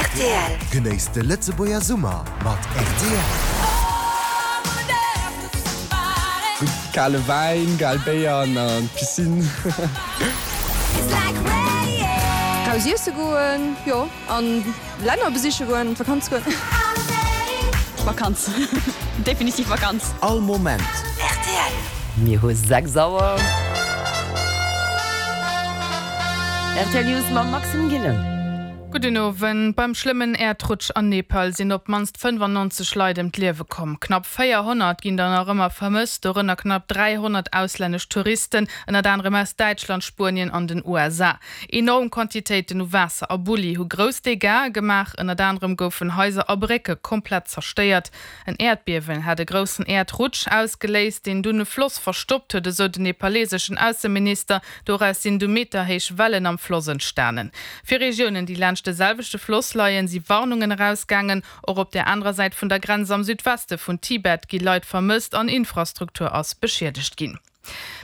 Rtl. Genéisst de Lëtzebuerger Summer mat rtl. Gutt kale Wäin, gäil Béier an an d'Piscine. Raus iesse goen, jo, an Länner besiche goen, an d'Vakanz goen. Vakanz, definitiv Vakanz. All Moment. Rtl. Mir hu 6 Auer. Rtl News mam Maxime Gillen. Gudden Owend. Beim schlëmmen Äerdrutsch an Nepal sinn op d'mannst 95 Leit ëm d'Liewe komm. Knapp 400 ginn der nach ëmmer vermësst, dorënner knapp 300 auslännesch Touristen, ënnert anerem aus Däitschland, Spuenien an den USA. Enorm Quantitéiten u Waasser a Bulli hu grouss Dégâtsë gemaach, ënnert anerem goufen Haiser a Brécke komplett zerstéiert. En Äerdbiewen hat e groussen Äerdrutsch ausgeléist, deen dunn e Floss verstoppt huet, esou den nepaleseschen Ausseminister. Doraus sinn du meterhéich Wellen am Floss entstanen. Fir Regiounen, déi laanscht de selwechte Floss leien, si Warnungen erausgaangen. Och op der anerer Säit vun der Grenz am Südweste vun Tibet gi Leit vermësst an Infrastruktur ass beschiedegt ginn.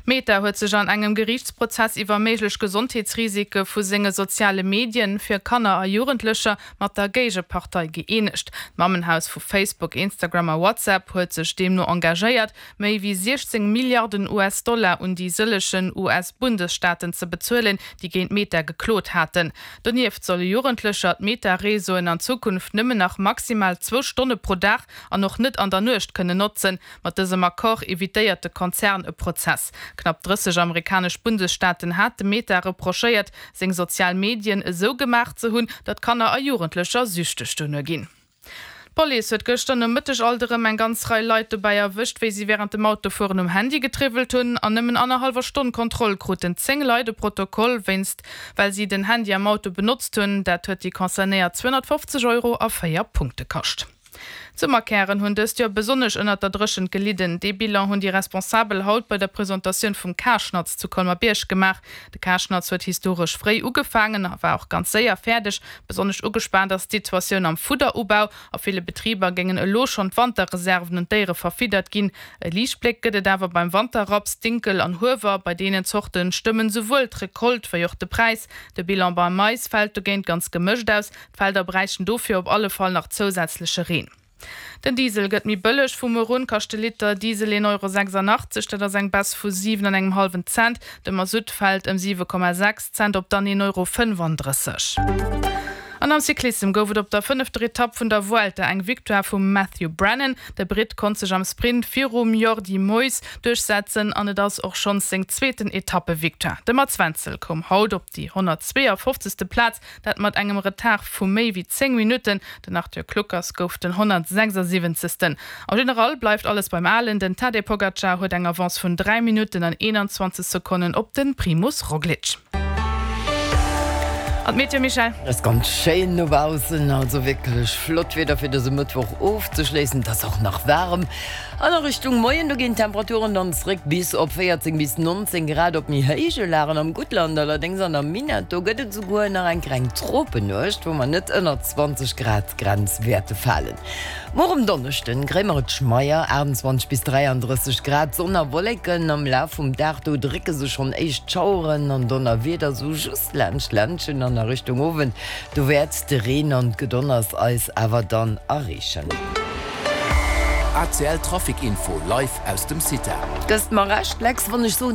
Meta huet sech an engem Geriichtsprozess iwwer méiglech Gesondheetsrisike vu senge soziale Medien fir Kanner a Jugendlecher mat der Géigepartei gëeenegt. D'Mammenhaus vu Facebook, Instagram a WhatsApp huet sech deemno engagéiert, méi wéi 16 Milliarden US-Dollar un déi sëllegen US-Bundesstaaten ze bezuelen, déi géint Meta geklot haten. Donieft solle Jugendlecher d'Meta-Reseauen an Zukunft nëmmen nach maximal zwou Stonne pro Dag an och net an der Nuecht kënnen notzen. Mat dësem Accord evitéiert de Konzern e Prozess. Knapp 30 amerikanesch Bundesstaaten hate Meta reprochéiert, seng sozial Medien esou gemaach ze hunn, datt Kanner a Jugendlecher süchteg dono ginn. D'Police huet gëschter Nomëtteg alt erëm eng ganz Rei Leit dobäi erwëscht, wéi si wärend dem Autofueren um Handy getriwwelt hunn. An nëmmen annerhallwer Stonn Kontroll kruten 10 Leit e Protokoll wéinst well si den Handy am Auto benotzt hunn. Dat huet déi Concernéiert 250 Euro a 4 Punkte kascht. D'Summerkären hunn dëst Joer besonnesch ënnert der Dréchent gelidden. Dee Bilan hunn déi Responsabel haut bei der Presentatioun vum Karschnatz zu Colmer-Bierg gemaach. De Karschnatz huet historesch fréi ugefaangen a war och ganz séier fäerdeg. Besonnesch ugespaant ass d'Situatioun am Fudderubau. A ville Betriber géingen elo schonn d'Wanterreserven un d'Déiere verfiddert ginn. E Liichtbléck gëtt et awer beim Wanterraps, Dinkel an Huewer. Bei deenen Zorte stëmmen souwuel d'Recolte wéi och de Präis. De Bilan beim Mais fält dogéint ganz gemëscht aus. D'Felder bräichten dofir op alle Fall nach zousätzleche Reen. Den Diesel gëtt méi bëlleg, Vu muer un kascht de Liter Diesel 1,86 Euro, dat ass eng Baisse vu 7 an engem hallwen Cent. De Masutt fält ëm 7,6 Cent op dann 1,35 Euro. An am Cyclissem gouf et op der fënnefter Etapp vun der Vuelta eng Victoire vum Matthew Brennan. De Britt konnt sech am Sprint virum Jordi Meeus duerchsetzen an et ass och schonns seng zweeten Etappevictoire. De Mats Wenzel koum haut op déi 152. Plaz, Dat mat engem Retard vu méi wéi 10 Minutten. Den Arthur Kluckers gouf den 176. Am General bleift alles beim Alen. Den Tadej Pogacar huet eng Avance vun 3 Minutten an 21 Sekonnen op de Primoz Roglic. An d'Meteo, Michèle? Et ass ganz schéin dobaussen, also wierklech flott Wieder fir dëse Mëttwoch ofzeschléissen. Et ass och nach waarem. An a Richtung Moien, do ginn d'Temperaturen dann zréck bis op 14 bis 19 Grad. Op méi héije Lagen am Guttland allerdéngs an am Minett, do gëtt et esouguer nach eng kleng Tropennuecht, wou mer net ënnert d'Zwanzeg Grad Grenz wäerte falen. Muer um Donneschden kréie mer et schmeier, 28 bis 33 Grad, Sonn a Wolleken. Am Laf vum Dag, do drécke sech schonn éischt Schaueren an Donnerwieder sou just laanscht d'Ländchen an a Richtung Owend, do wäert de Reen an d'Gedonners eis awer dann erreechen. ACL Trafic Info live aus dem CITA. Gëss mer Recht, Lex, wann ech soen.